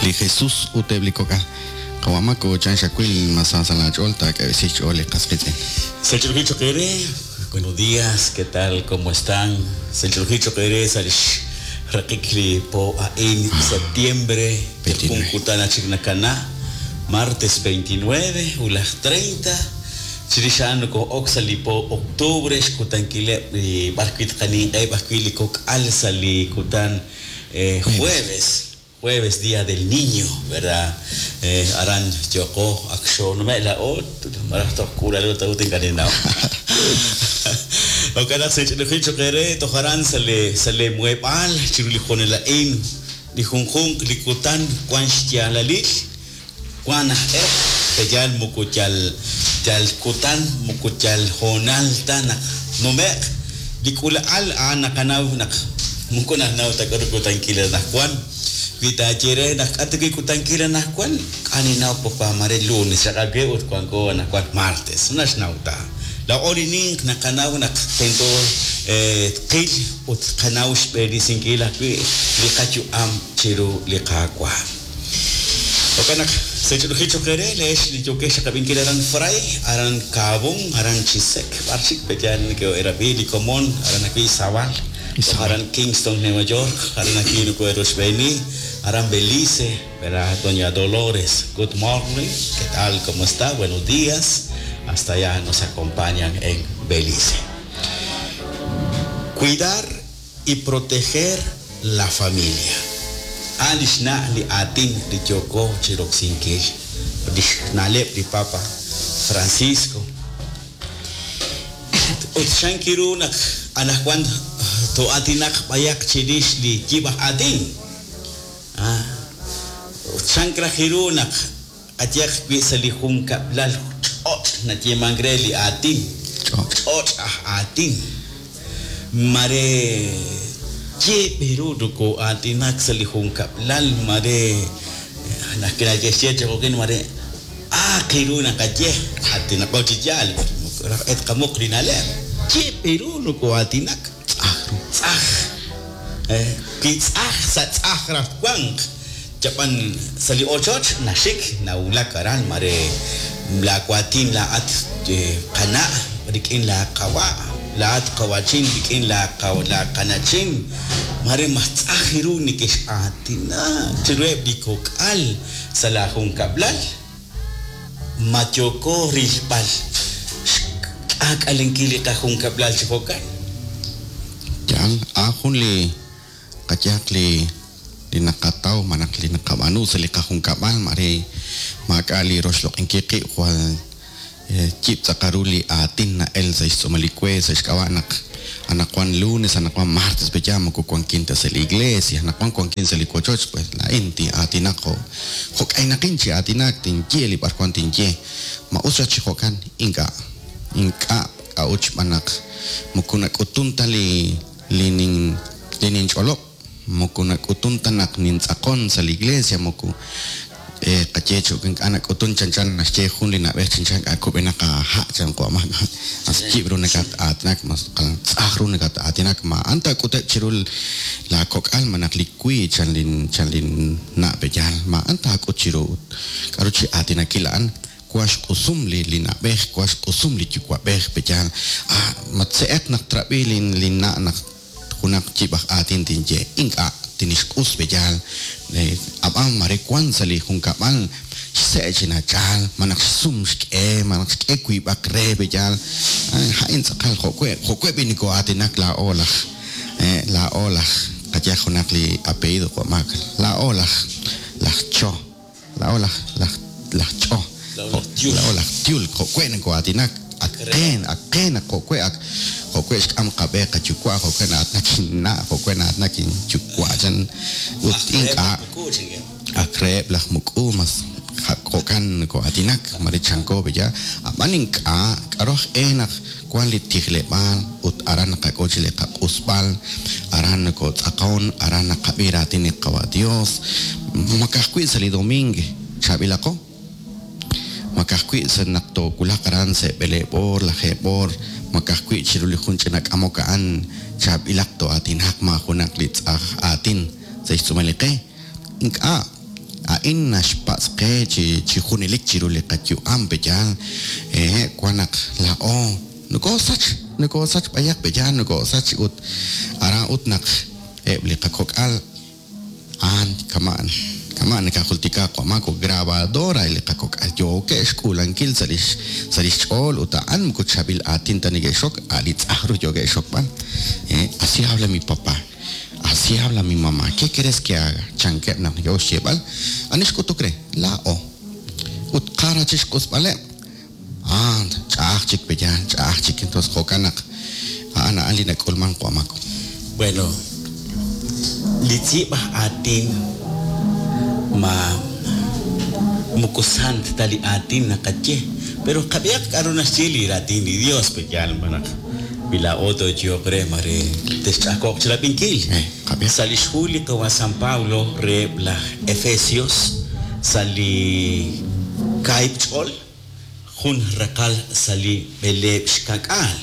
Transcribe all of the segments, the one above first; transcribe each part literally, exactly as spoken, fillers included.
Li Jesús ut eb' li kok'al. Qawamako chan xakwil masasalach'ol taak'eb'esich li qasqitz'in. Selchulujicho kere, buenos días, ¿qué tal? ¿Cómo están? Selchulujicho kere, salish raqikli po ain septiembre, veintinueve. Chiknakana, martes veintinueve, ulas treinta. Chirishan ko oksali po octubre, xkutankile barquit kanin eh barquili kok al sali kutan eh, jueves. Jueves, Día del Niño, ¿verdad? Eh, aran yoko aksho no me la o marahto kura lo tautin kanina. Okana se chlujicho kere toharan sale sale muebal chiruli jonela in li junjun likutan kwan xtialalil kwan eh teyal mukuchal yal kutan mukuchal jonal tanak no me likula al anakanaw nak mukuna naw takarukutan kila nakwan Vitachere nakatiki kutankila nakwan aninaw popa mare lunes sakage ut kwanko nakwan martes nasnauta la orining nakanaw nak tento eh qil ut kanaw xb'erisinkila wi liqachu am chiru liqaqwa okanak sechulujicho kere lesh liyoke xaqab'inkila aran fray aran kabon aran chisek barchik peyan que era bili komon aran aquí Sabal aran Kingston, Nueva York, aran aquí Nucueros Beni, aran Belice, ¿verdad? Doña Dolores, good morning, ¿qué tal? ¿Cómo está? Buenos días. Hasta allá nos acompañan en Belice. Cuidar y proteger la familia. Alishna li atin li yoko chiroxinkil, nalep li Papa Francisco. Utshankiru nak anakwan to atinak bayak chirish li yibah atin. Ah, chankrajiru nak atyak wi sali junka lal ch'ot na yemangre li atin. Ch'ot ah atin. Mare yeberu ko atinak sali junka lal mare nakira yesye chokin mare ah kiru nak atye atinak ochiyal et kamuk rinale. Yeberu ko atinak. Tzaj. Eh, kitzaj sa tzaj rafwank. Japan sali ochoch nashik naula karan mare la kuatin la at kana rikin la kawa la at kawachin rikin la kaw la kanachin mare matzajiru nikish atina chireb dikokal salahun kablal machoko rilpal akalenkili kahun kablal chifokan. Yan, ahun li kayak li li nakataw manak li nakabanu sa li kahungkabal mare makali roslok inkiki wal chip sakaruli atin na el sa isomalikwe sa iskawanak anakwan lunes anakwan martes bejamo ko kwan quinta sa iglesia anakwan kwan quinta sa likochoch pues la inti atinako hok ay nakinchi atinak tinye li parkwan tinye mausa chihokan inka inka kauch manak mukunak utunta li linin linin cholop mukunak utunta nak nintzakon sa la iglesia muku eh kachecho anak utun chan chan nasche jun lina beh chan chan akubenaka ha chan ko ma as chibru nakat atnak mas tzahru nakat atinak ma anta kute chirul la kokal manak likui chan lin chan lin na bejal ma anta akuchiru karuchi atinakilan kuash kusum li linabej kuash kusum li chukwabej bejal ah matseet nak trabi lin lina nak kunak chibaj atin tinye inka tinishkus bejal abam mare kwan sali junkabal sechina chal manak sum shke manak shke kuibak re bejal hain sakal jokwe jokwe biniko atinak la olaj eh la olaj kaya junak li apellido kuamak la olaj la cho la olaj la la cho la olaj tiul jokwe nko atinak aken aken jokwe ak jokwe am kabe kachukwa jokwe na atnakin na jokwe na atnakin chukwa chan ut inka akreb laj muku mas jokan ko atinak marichanko beya amaninka karoj enak kwan li tijlebal ut aran kakochile kakusbal aran ko tzakon aran kabira tini kawa Dios makakwi sali domingue chabilako makakwi sa nakto kulakaran se belebor la jebor makakwi chiruli junchenak amokaan chabilak to atinak majunak litzaj atin se istumalike inka A'in naxpatz' qe chi chi junelik chiru li qayu'am pe'yaal eh wan naq laa'o nokosach nokosach b'ayaq pe'yaal nokosach ut aran ut naq eb' li qakok'al a'an kaman kaman nakajultika qamako grabadora li qakok'al yookeb' xk'uulankil sa' lix sa' lix ch'ool ut a'an moko chaab'il aatin ta neke'xok a' li tz'aj ru yookeb' xokb'al eh así habla mi papá, así habla mi mamá, ¿qué quieres que haga? Chankeb' naq neke'ok xyeeb'al ani xk'utuk re laa'o ut qara chixq'usb'aleb' ah ch'a'aj chik pe'yaal ch'a'aj chik entonces jo'kan naq a'an a'an li nak'ulman qamako. Bueno, li tz'iib' aj aatin ma moko sant ta li aatin naqaye pero qab'ihaq k'aru naxye li raatin li Dios pe'yaal naq wila'o tooyo'q re mare texch'ajko'q chirab'inkil. Eh, qab'ihaq. Sa' li xhu li qawa San Pablo reheb' laj Efesios sa' li kaahib' ch'ol jun raqal sa' li b'eleeb' xka'k'aal.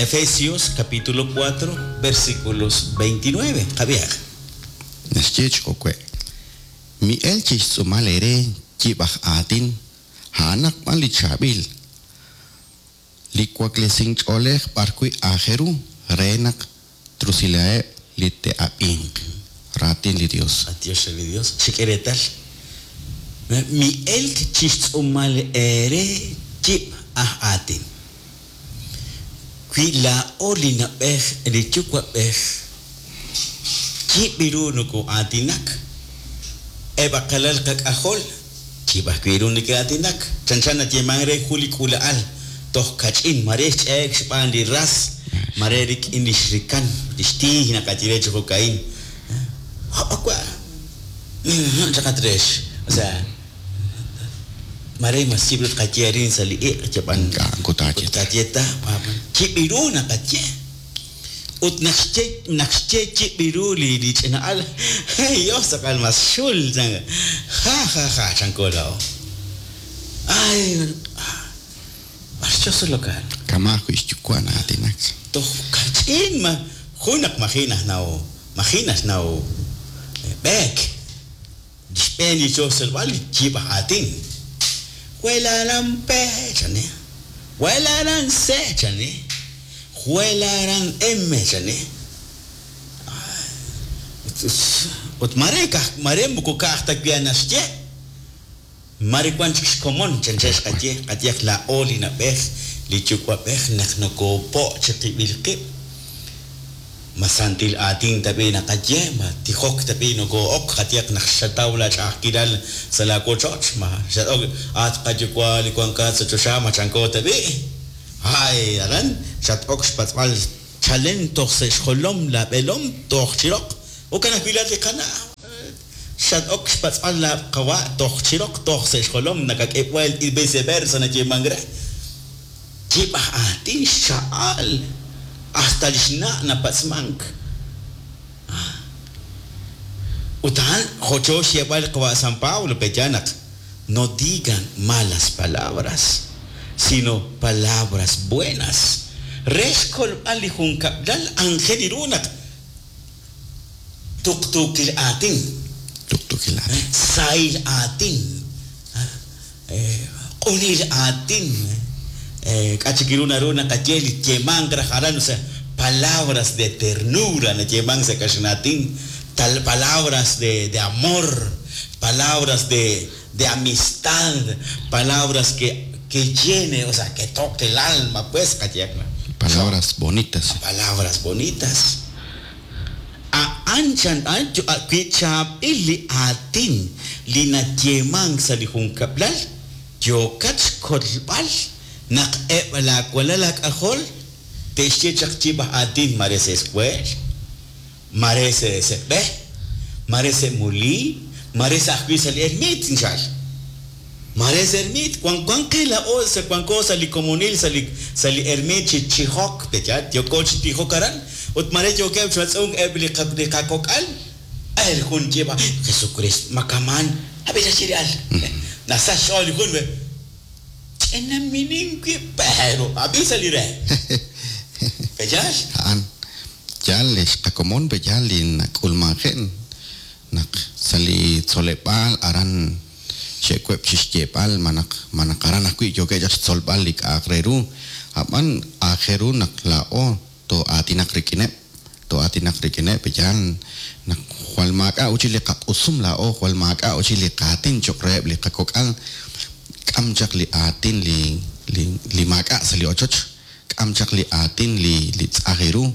Efesios capítulo cuatro versículos veintinueve. Qab'ihaq. Naxye ch'owe' mi'el chixtz'uumal eere yib' aj aatin a'anaq b'an li chaab'il li waklesink ch'oolej b'arwi' aajel ru re naq trusilaheb' li te'ab'inq. Raatin li Dios. Adiós li Dios. Xik'eretal. Mi'elk chixtz'uumal eere yib' aj aatin. Wi laa'o li nab'ej li yuwa'b'ej yib' ru noko'aatinak eb' aqalal qak'ajol yib' ajwi' ru neke'aatinak chanchan nayeeman re jun li k'uula'al toj kach'in mare xch'e'ek xb'aan li ras mare rik'in li xrikan li xtiij naqaye re chi jo'ka'in ha'wa chaqat rex o sea mare mas yib' ru tqaye arin sa' li iq' yab'an K'a'an kutaye ta. kutaye ta yib' ru naqaye ut naq xye naq xye yib' ru li li ch'ina'al hey Dios saqal mas xul chan ja ja ja chanko la'o ay b'ar Kama ajwi' xyuwa' na'aatinak. Toj kach'in ma jun naq maji' najnaw maji' naxnaw b'eek xb'een li choselb'al yib' aj aatin welaran P chani welaran C chani welaran M chani ut mare kaj mare moko ka'aj ta wi' naxye mare wan chik xkomon chanchan xqaye qayeq la'o li nab'ej li yuwa'b'ej naq nokopo' chiqib'il qib' ma santil aatin tab'i naqaye ma tijok tab'i noko'ok qayeq naq xataw la ch'a'ajkilal sa' la wochoch ma xat'ok at qayuwa' li wankat sa' choxa ma chanko tab'i ay aran xat'ok xpatz'b'al chalen toj sa' xjolom la b'elom toj chiroq ukan ajwi' laat li qana' xat'ok xpatz'b'al la qawa' toj chiroq toj sa' xjolom nakak'eb'wel y viceversa nayeeman re yib' aj aatin xcha'al hasta li xna' napatz'mank ut a'an jo'cho xyeeb'al qawa' San Pablo pe'ya naq no digan malas palabras sino palabras buenas re xkolb'al li junkab'lal aajel ru naq tuqtuukil aatin Tuqtuukil aatin. sahil aatin q'unil aatin k'a' chik ru naru naqaye li yeemank raj aran o sea palabras de ternura nayeeman sa' kaxnaatin tal palabras de, de amor palabras de, de amistad palabras que, que llene o sea que toque el alma pues qayeq Palabras bonitas. palabras bonitas a'an chan wi chaab'il li aatin li nayeemank sa' li junkab'lal yookat xkolb'al naq eb' laawalal laak'ajol te'xye chaq yib' aj aatin mare sa' escuel mare sa' sa' b'e mare sa' muliin mare sa' ajwi' sa' li ermit inxal mare sa' ermit wan wan qe la'o sa' wanko sa' li komonil sa' li sa' li ermit chi chijok pe'ya yooko chi tijok aran ut mare yookeb' xwatz'unk eb' li qa li qakok'al el jun yib' Jesucristo makaman ab'i xachiri al nasa xch'ool li jun ch'ina minin wi' pero ab'i sa' li re pe'yaal A'an yaal li xqakomon pe'yaal li nak'ulmanjen naq sa' li tzoleb'aal aran xe'web' chixyeeb'al malaj malaj aran ajwi' yookeb' chaq xtzolb'al li k'a'aq re ru ab'an aajel ru naq laa'o too'aatinaq rik'ineb' too'aatinaq rik'ineb' yaal naq jwal maak'a' uchil li qaq'usum laa'o jwal maak'a' uchil li qaatin cho'q reheb' li qakok'al k'am chaq li aatin li li li maak'a' sa' li ochoch k'am chaq li aatin li li tz'aj ru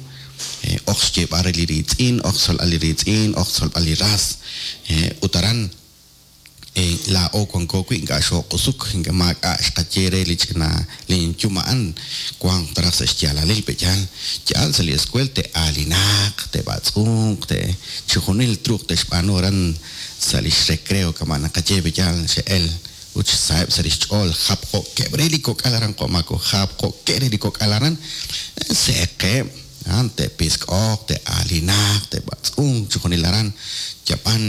oj xyeeb'al re li riitz'in oj xtzolb'al li riitz'in oj xtzolb'al li ras ut aran laa'o wanko wi' ink'a' xoq'usuk ink'a' maak'a' xqaye re li ch'ina li inyum a'an wanq taraj sa' xyaalalil pe yaal yaal sa' li escuela te'aalinaq te'b'atz'unq te chi junil truuq te'xb'aanu aran sa' li xrecreo kama' naqaye pe yaal xe'el ut xsaheb' sa' li xch'ool japjo'keb' re li kok'al aran qo'mako japjo'keb' re li kok'al aran se'qeb' an te'pisk'oq te'aalinaq te'b'atz'unq chi junil aran yab'an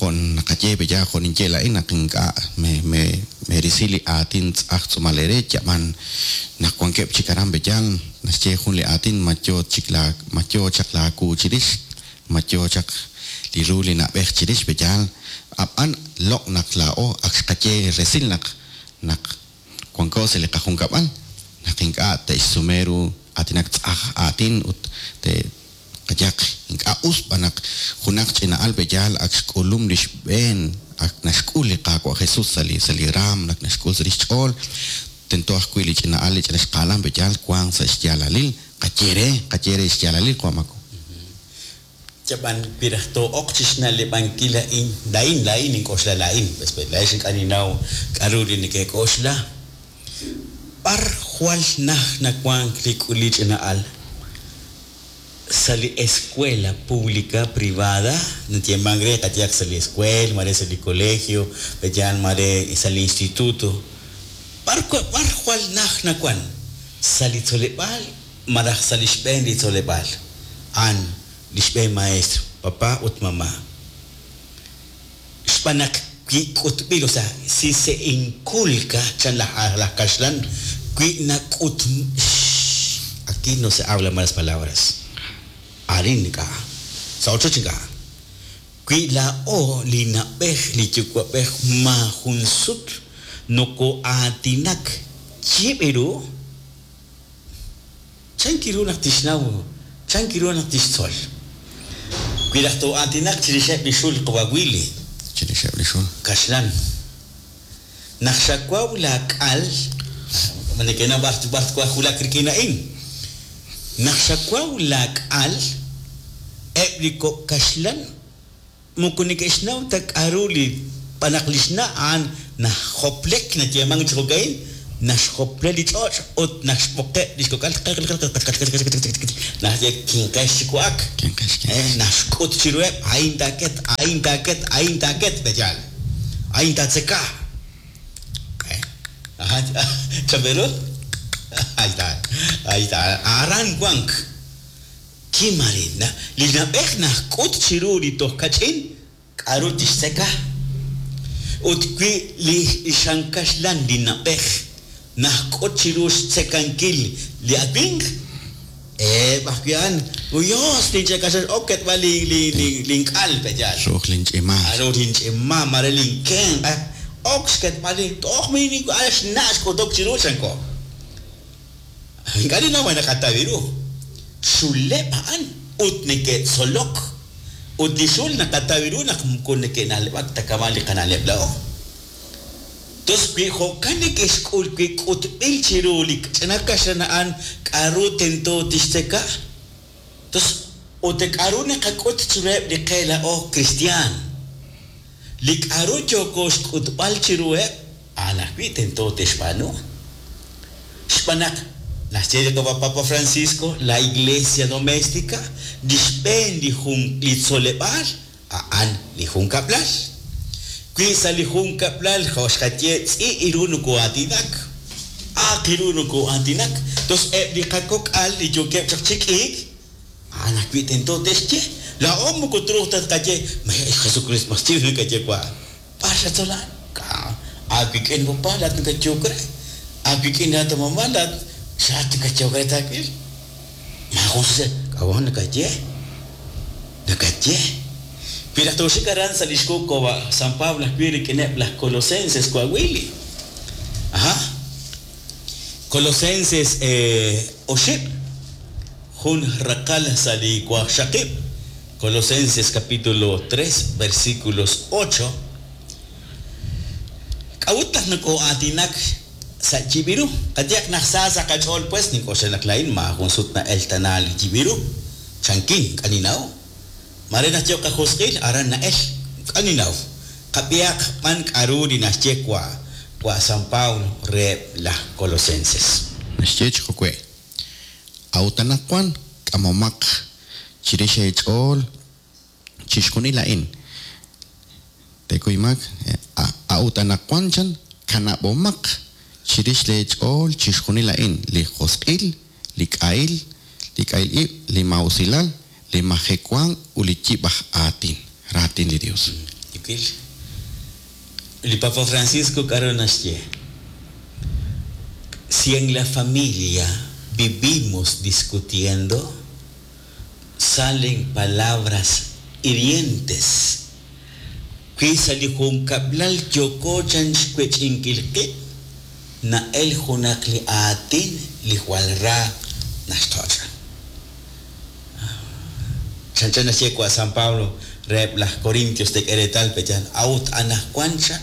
jon naqaye pe ya jon inye la'in naq ink'a' me me merisi li aatin tz'aj tz'uumal re yab'an naq wankeb' chik aran pe yaal naxye jun li aatin ma yo chik la ma yo chaq laaku chirix ma yo chaq li ru li na'b'ej chirix pe yaal ab'an loq' naq laa'o ak xqaye resil naq naq wanko sa' li qajunkab'al naq ink'a' te'xsume ru aatinak tz'aj aatin ut te qayaq ink'a' us b'an naq junaq ch'ina'al pe yaal ak xk'ulum li xb'een ak naxk'ul li Qaawa' Jesus sa' li sa' li raam naq naxk'ul sa' li xch'ool tento ajwi' li ch'ina'al li ch'ina xqaalan pe yaal wanq sa' xyaalalil qaye re qaye re xyaalalil qo'mako Yab'an piraj to'oq chixna'leb'ankil la'in la'in la'in ink'oxla la'in pues la'ex ink'a' ninnaw k'a'ru li neke'k'oxla b'ar jwal naj nawank li k'uli ch'ina'al sa' li escuela pública privada natiemank re qayaq sa' li escuela mare sa' li colegio peyan mare sa' li instituto b'ar b'ar jwal naj nawan sa' li tzoleb'aal malaj sa' li xb'een li tzoleb'aal an li xb'een maestro papá ut mamá xb'aan naq wi k'utb'il o sea si se inculca chan laj laj kaxlan wi nak'ut aquí no se habla malas palabras arin ink'a' sa' ochoch ink'a' wi laa'o li na'b'ej li yuwa'b'ej maajun sut noko'aatinak yib' ru chan kiru naq tixnaw chan kiru naq tixtzol wi laj to'aatinak chirixeb' li xul qawawili chirixeb' li xul kaxlan naq xawaw laak'al neke'naw b'ar b'ar twaj wulak rik'in a'in naq xawaw laak'al eb' li kok' kaxlan moko neke'xnaw ta k'a'ru li b'an naq li xna' a'an najoplek nayeemank chi jo'ka'in naxjople li ch'och' ut naxb'oqeb' li xkok'al naxye kinqex chi wa'ak kinqex eh naxk'ut chiruheb' a'in taaket a'in taaket a'in taaket peyaal a'in taatzeka ajá chabero ahí está ahí está aran wank kimarina li na'b'ej najk'ut chiru li toj kach'in k'a'ru tixtzeka ut wi li xankaxlan li na'b'ej najk'ut chiru xtzekankil li awinq eb' ajwi' a'an uyos linch'ekaxan ok ketb'al li li li link'al peyaal ruuj linch'ima ru linch'ima mare linkenq ok xketb'al li toj mi xna' xk'utok chiru chanko ink'a' ninnaw ma naqataw ru xuleb' a'an ut neke'tzolok ut li xul naqataw ru naq moko neke'na'leb'ak ta kama' li qana'leb' la'o tos wi jo'kan neke'xk'ul wi k'utb'il chiru li ch'ina kaxlan a'an k'a'ru tento tixtzeka tos ut k'a'ru naqak'ut chiruheb' li qe la'o cristian li k'a'ru yooko xk'utb'al chiruheb' a'an ajwi' tento te'xb'aanu xb'aan naq naxye li Papa Francisco la iglesia doméstica li xb'een li jun li tzoleb'aal a'an li junkab'lal wi sa' li junkab'lal jo' xqaye tz'i' ru noko'aatinak aaq ru noko'aatinak tos eb' li qakok'al li yookeb' chaq chi k'iik a'an ajwi' tento te'xye laa'o moko truuq ta tqaye Jesucristo mas chiw nakaye wa b'ar xatzolan aawik'in papá laat nakayok re aawik'in laat mamá laat xaat nakayok re taawil maajun sa k'awan nakaye nakaye Wi naq tooxik aran sa' li xkoko San Pablo ajwi' rik'ineb' laj Colosenses wawili. Aha. Colosenses eh, oxib' jun raqal sa' li waqxaqib'. Colosenses capítulo tres versículos ocho. K'a'ut naq nakoo'aatinak sa' yibiru? Qatiaq naq sa sa qach'ool pues nink'oxla naq laa'in maajun sut na'el tana li yibiru. Chankin k'aninaw. Mare naq yo qajosq'il aran na'el k'aninaw. Qab'iaq b'an k'aru li naxye wa wa San Pablo reheb' laj Colosenses. Naxye chi jo'we'. A'ut anaqwan k'amomaq chirix eech'ool chixjunil a'in. Tekuymak a'ut anaqwan chan kanab'omaq chirix leech'ool chixjunil a'in li josq'il, li k'ahil, li k'ahil ib', li mausilal, li majewank ut li yib' aj aatin, raatin li Dios. Yukil. Li Papa Francisco k'aru naxye. Si en la familia vivimos discutiendo, salen palabras hirientes. Wi sa' li junkab'lal yoko chan xwech'inkil qib', na'el junaq li aatin li jwal ra naxtoch'. Chanchan naxye wa San Pablo reheb' laj Corintios tek'e reetal pechan a'ut anaqwan cha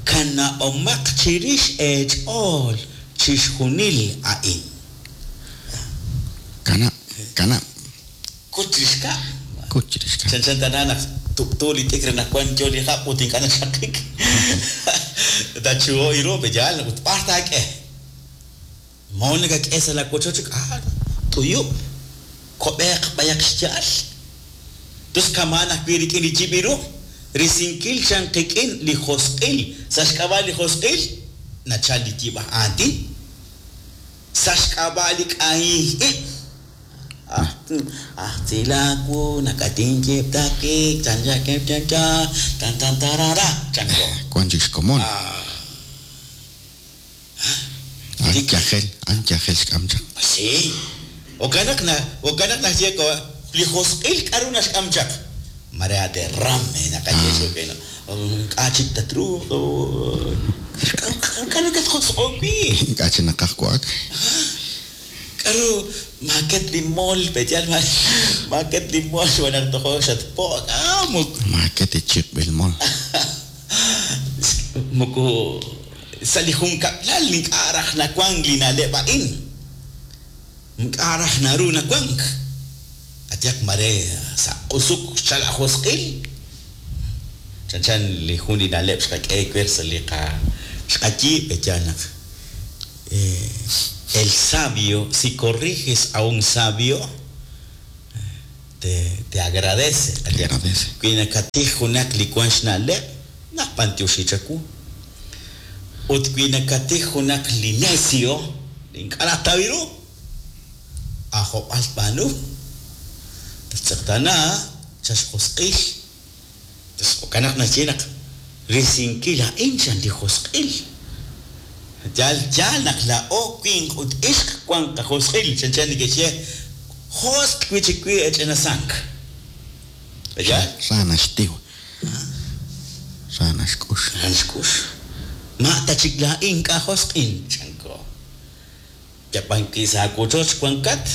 kanab'omaq chirix eech'ool chixjunil a'in. Kanab', kanab'. Kut chirix kab'. Kut chirix kab'. Chanchan tana naq tub'tu li t'ikr naq wan yo li hab' ut ink'a' naxaqik. Tachuho iru peyal ut b'ar taak'e. Moo nakak'e sa' la wochoch ah t'uyub' kob'eq b'ayaq xya'al. Tus kamaan ajwi' rik'in li yib'iru risinkil chan qik'in li josq'il. Sa' xk'ab'a' li josq'il nachal li yib' aj aatin. Sa' xk'ab'a' li k'ahil ib'. Ah tzilaku nakatinchip takik chan chan chan chan tan tan tarara chanko. Wan chik xkomon. An yajel, an yajel xk'am chaq. Sí. Okanak na, okanak naxye ko li josq'il k'aru naxk'am chaq. Marea derrame nakaye xokeno. K'a chik tatru. K'aru katjosq'owi. K'a chik naqaj wa'ak. K'aru maket li mol peyal maket li mol wanaq tojo xatpo' ah muk Maket ichiqb'il mol. Moko sa' li junkab'lal ink'a' raj nawank li na'leb' a'in. Ink'a' raj naru nawank. Atiaq mare sa' q'usuk xchal ajosq'il. Chanchan li jun li na'leb' xqak'e wer sa' li qa xqayiib' peyal naq eh, el sabio, si corriges a un sabio, te, te agradece. Te agradece. Wi nakatij junaq li wan xna'leb', naqb'antioxi chawu. Ut wi nakatij junaq li necio, ink'a' najtaw ru, ajob'al b'aanu. Tattz'eqtana chaxjosq'il. Tos jo'kan naxye naq risinkil a'in chan li josq'il. Yal yal naq la'o winq ut ixq wan qajosq'il chanchan neke'xye josq' wi chik wi ech'inasank. Yal Ra naxtiw. Ra naxk'ux. Ra naxk'ux. Ma' ta chik laa'in k'a josq'in chanko. Yab'an ki sa' wochoch wankat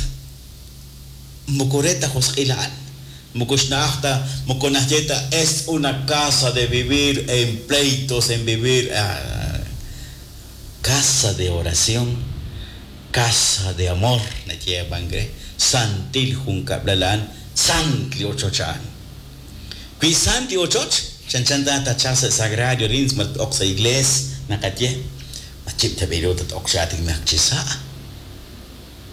moko re ta josq'il a'an. Moko xna'aj ta moko naxye ta es una casa de vivir en pleitos, en vivir ah, casa de oración, casa de amor, nayeban gre, santil junkab'lalan, sant li ochoch a'an. Wi sant li ochoch, chanchan ta tachal sa' sagrario rins mat ok sa' igles naqaye, machib tabiru tat ok sa atinak chi sa'.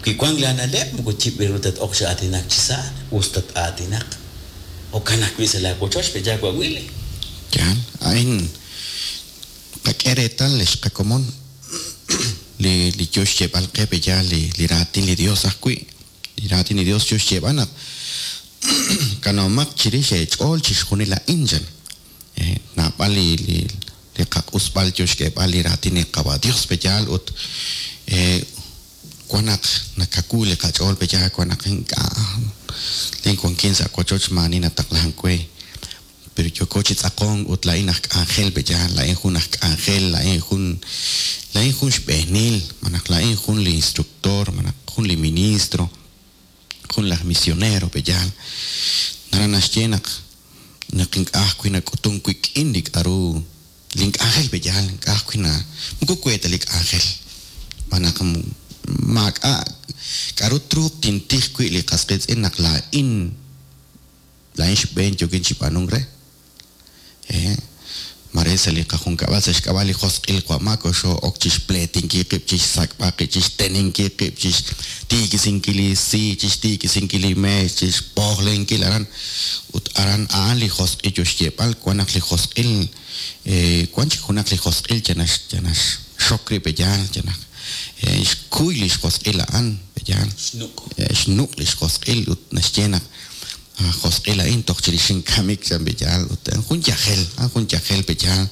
Wi wank la na'leb' moko chib'iru tat ok sa' atinak chi sa', us tat atinak. Jo'kan ajwi' sa' la wochoch peya wawili. Yal, a'in qak'e reetal li xqakomon li li yo xyeeb'al qe peya li li raatin li Dios ajwi'. Li raatin li Dios yo xyeeb'al naq kanomaq chirix eech'ool chixjunil a'in chan. Eh, naab'al li li li qaq'usb'al yo xk'eeb'al li raatin li qawa Dios peyal ut eh, wan naq nakaku li qach'ool peya wan naq ink'a' lin wankin sa' wochoch maani nataqlan we. Pero yooko chi tz'aqon ut laa'in aj k'anjel pe'yaal, laa'in jun aj k'anjel, laa'in jun laa'in jun xb'eenil, malaj laa'in jun li instructor, malaj jun li ministro, jun laj misionero pe'yaal. Nara naxye naq naq ink'a' ajwi' nak'utun wik'in li k'a'ru lin k'anjel pe'yaal, ink'a' ajwi' na moko we ta li k'anjel. Malaj maak'a' k'a'ru truuq tintij wi' li qas qiitz'in naq laa'in laa'in xb'een yookin chi b'aanunk re. Eh, mare sa' li qajunkab'al sa' xk'ab'a' li josq'il wa'maak oxo ok chixpleetinkil qib', chixsak'b'al qib', chixteninkil qib', chixtiikisinkil li si, chixtiikisinkil li meex, chixpojlenkil aran. Ut aran a'an li josq'il yo xyeeb'al, wan naq li josq'il, eh, wan chik junaq li josq'il yanax, yanax xok rib' pe'yaal, yanax, eh, xkuy li xjosq'il a'an pe'yaal. Xnuq'. Eh, xnuq' li xjosq'il ut naxye naq josq'il a'in toj chirix inkamik chan pe'yaal, ut jun yajel, jun yajel pe'yaal.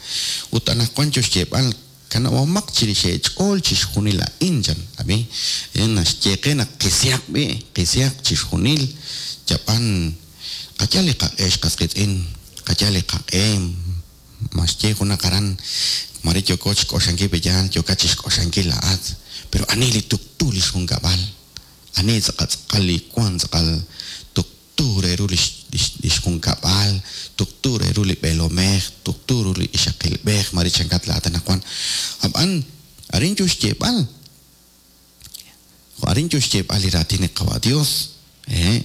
Ut anaqwan yo xyeeb'al kanab'omaq chirix eech'ool chixjunil a'in chan, ab'i, eh, naxye qe naq qisihaq b'i, qisihaq chixjunil, yab'an qayal li qaq'e xqas qiitz'in, qayal li qaq'e, maxye junaq aran, mare yooko chixk'oxankil pe'yaal, yookat chixk'oxankil la'at, pero ani li tuqtu li xjunkab'al, ani tz'aqal li wan tz'aqal tuqtu re ru lix, lix, lix junkab'al, tuqtu re ru li b'eelomej, tuqtu ru li ixaqilb'ej, mare chankat la'at anaqwan. Ab'an arin yo xyeeb'al, arin yo xyeeb'al li raatin li Qawa' Dios, eh.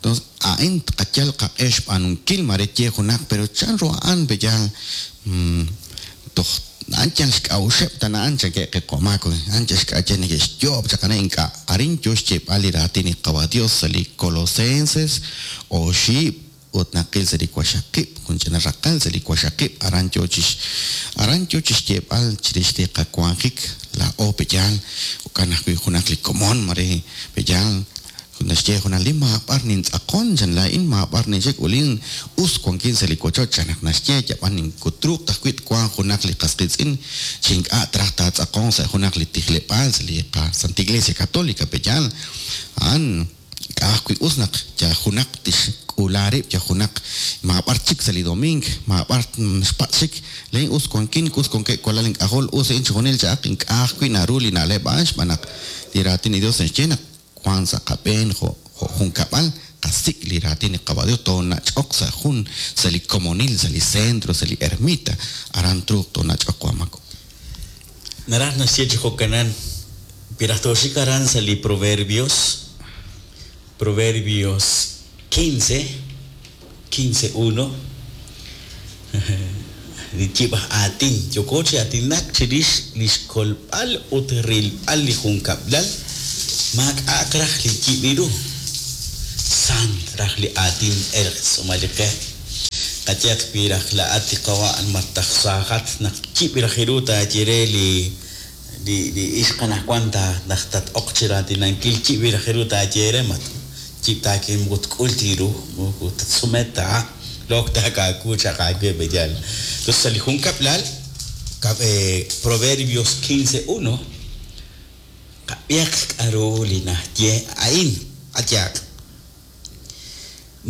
Entonces, a'in tqayal qaq'e xb'aanunkil mare ye junaq, pero chan ru a'an pe'yaal, mm, toj a'an yal xk'a'uxeb' ta na'an chanke' qeqo'maak, a'an yal xk'a'uxeb' neke'xyoob' chaq ane ink'a' arin yo xyeeb'al li raatin li Qawa' Dios sa' li Colosenses oxib' ut naqil sa' li waxaqib', jun ch'ina raqal sa' li waxaqib', aran yo chix, aran yo chixyeeb'al chirix li qawanjik laa'o pe'yaal, jo'kan ajwi' junaq li komon mare pe'yaal, naxye junaq li maab'ar nintz'aqon chan laa'in maab'ar ninxik ulin us wankin sa' li wochoch chan naq naxye yab'an inkutruuq tajwi' twanq junaq li qas qiitz'in chi ink'a' traj taatz'aqon sa' junaq li tijleb'aal sa' li Santa Iglesia Católica pe'yaal. A'an k'a' ajwi' us naq ya junaq tixk'uula rib', ya junaq maab'ar chik sa' li doming, maab'ar xpatz' chik, laa'in us wankin, us wankeb' walal ink'ajol, us a'in chixjunil cha'aq, ink'a' ajwi' naru li na'leb' a'an xb'aan naq li raatin li Dios naxye naq wan sa' qab'een jo', jo' junkab'al, qasik' li raatin li Qawa' Dios, toonach'oq sa' jun, sa' li komonil, sa' li centro, sa' li ermita, aran truuq toonach'oq wamako. Naraj naxye chi jo'kanan, piraj toxik aran sa' li Proverbios, Proverbios quince, quince uno, li yib'aj aatin, yooko chi aatinak chirix li xkolb'al ut rilb'al li junkab'lal, maak'a'aq raj li yib'iru, sant raj li aatin erq tz'umaliqe. Qayaq wi raj la'at li qawa' martaj saajat naq yib' raj iru taayere li, li, li ixq anaqwan ta naq tat-oq chi raatinankil, yib' raj iru taayere mat yib' taakin moko tk'ul tiru, moko tatsumet ta, look taakaaku chaq aawe pe'yaal. Entonces, sa' li junkab'lal, kab-, eh, Proverbios quince uno, qab'ihaq k'a'ru li naxye a'in, qayaq.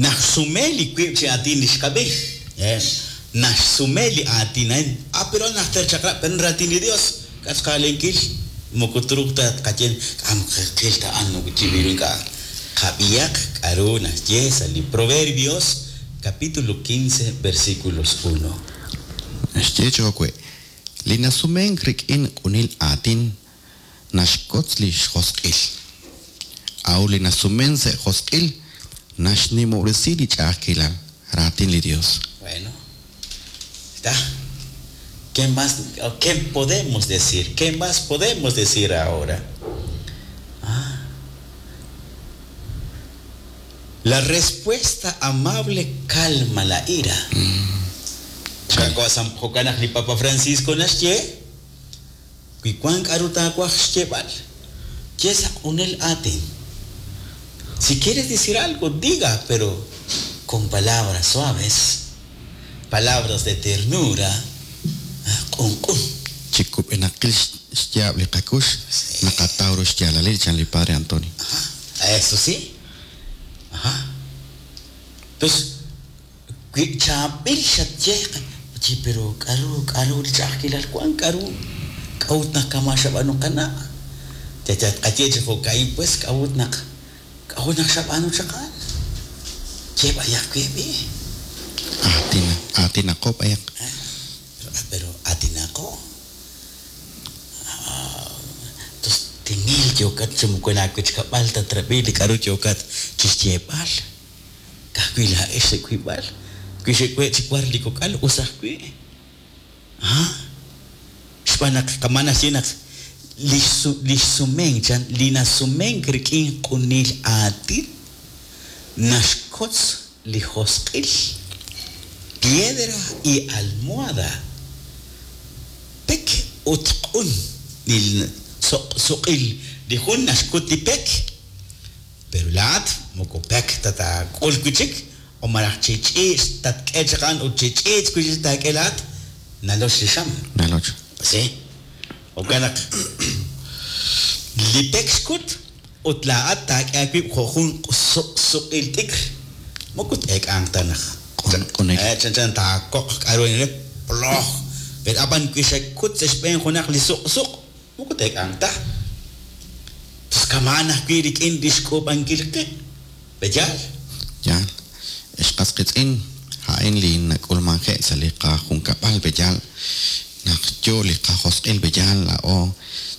Naxsume li wiib' chi aatin li xqab'i. Eh, naxsume li aatin a'in. Ah, pero najter chaqrab', pero raatin li Dios. K'asqalenkil, moko truuq ta qayen, k'am qil ta a'an moko chib'iru ink'a'. Qab'ihaq k'a'ru naxye sa' li Proverbios, capítulo quince, versículos uno. Naxye chowe, li nasumenk rik'in q'unil aatin naxkotz li xjosq'il. Aw li nasumen sa' josq'il naxnimob'resi li ch'a'ajkilal, raatin li Dios. Bueno, está. ¿Qué más, qué podemos decir? ¿Qué más podemos decir ahora? Ah. La respuesta amable calma la ira. Mm. Jo'kan li Papa Francisco naxye, wi wank k'a'ru taawaj xyeeb'al, ye sa' q'unil aatin. Si quieres decir algo, diga, pero con palabras suaves, palabras de ternura, q'un q'un. Chikub'enaqil xyaab' li qakux, naqataw ru xyaalalil chan li Padre Antonio. Ajá, eso sí. Ajá. Entonces, Wi chaab'il xatye chi pero k'aru k'aru li ch'a'ajkilal wan k'aru k'a'ut naq kama' xab'aanu qana'. Tqaye chi jo'ka'in pues k'a'ut naq k'a'ut naq xab'aanu chaq a'an. Ye b'ayaq we b'i. Aatin aatinaqo b'ayaq. Pero aatinaqo. Tos timil yookat chi moko laawechkab'al tatrab'i li k'aru yookat chi xyeeb'al. Ka'ajwi' laa'ex sa' wiib'al. Wi xe'we' chi war li kok'al us ajwi'. Xb'aan naq kama' naxye naq li xsumenk chan li nasumenk rik'in q'unil aatin naxkotz li josq'il. Piedra y almohada. Pek ut q'un li suq'il li jun naxkut li pek. Pero laa'at moko pek ta taak'ul wi' chik o malaj chi ch'iich' tatk'e chaq a'an ut chi ch'iich' wi' chik taak'e laa'at naloch li xam. Naloch. Sí. Jo'kan naq li pek xkut ut laa'at taak'e aawib' jo' jun suq'il t'ikr moko t-eek'anq ta naq Q'unil. Chanchan taakoq k'aru ploj. Pero ab'an wi xakut sa' xb'een junaq li suq suq moko t-eek'anq ta. Tos kama'an ajwi' rik'in li xk'uub'ankil qib'. Peyaal? Yaal. Ex qas qiitz'in a'in li nak'ulmanje' sa' li qajunkab'al peyaal naq yo li qajosq'il peyaal laa'o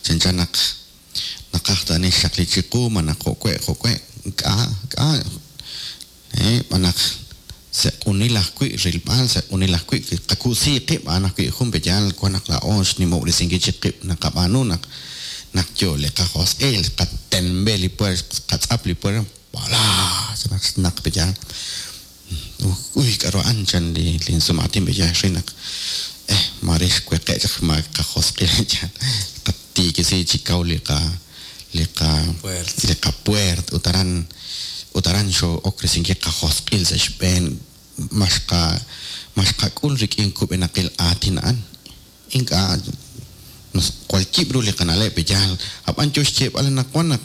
chanchan naq naqaj tani xaqli chiqu malaj jo'we' jo'we' k'a' k'a' eh b'anaq se'q'unil ajwi' rilb'al se'q'unil ajwi' qaku'sii qib' a'an ajwi' jun peyaal wan naq laa'o xnimob'resinkil chik qib' naqab'aanu naq naq yo li qajosq'il qatenb'e li puer qatz'ap li puer wala naq peyaal uy k'aru a'an chan li linsumaatin peyaal ri naq eh mare xweqe' chaq ma qajosq'il chan qatiikisi chi kaw li qa li qa li qapuert ut aran ut aran xoo'ok risinkil qajosq'il sa' xb'een maxqa maxqak'ul rik'in kub'enaqil aatin a'an ink'a' jwal yib' ru li qana'leb' peyaal ab'an yo xyeeb'al naq wan naq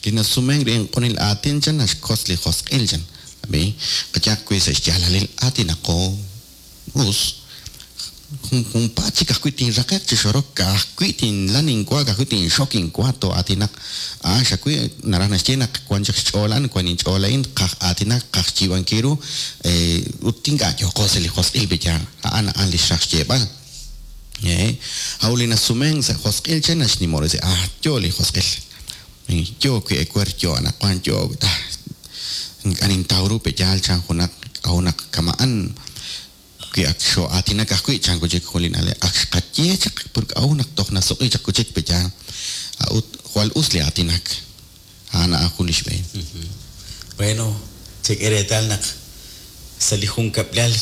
li nasumenk rik'in q'unil aatin chan naxkotz li josq'il chan ab'i qayaq wi' sa' xyaalalil aatinaqo us junpaat chik ajwi' tinraqe'q chi xorok ka'ajwi' tinlan inwa ka'ajwi' tinxok inwa too'aatinaq a'an xawi' naraj naxye naq wan chaq xch'ool a'an wan inch'ool a'in qaj aatinak qaj xyiib'ankil ru ut ink'a' yooqo sa' li josq'il peyaal a'an a'an li xraj xyeeb'al. Aw li nasumenk sa' josq'il chan naxnimob'resi ah yo li josq'il yo wi' ewer yo anaqwan yo ink'a' nintaw ru peyaal chan junaq k'a'ut kama'an wi ak xoo'aatinak ajwi' chan kuchik jun li na'leb' ak xqaye chaq por k'a'ut naq toj nasuq'i chaq kuchik peyaal a'ut jwal us li aatinak a'an a'an jun li xb'een. Bueno, chek'e reetal naq sa' li junkab'lal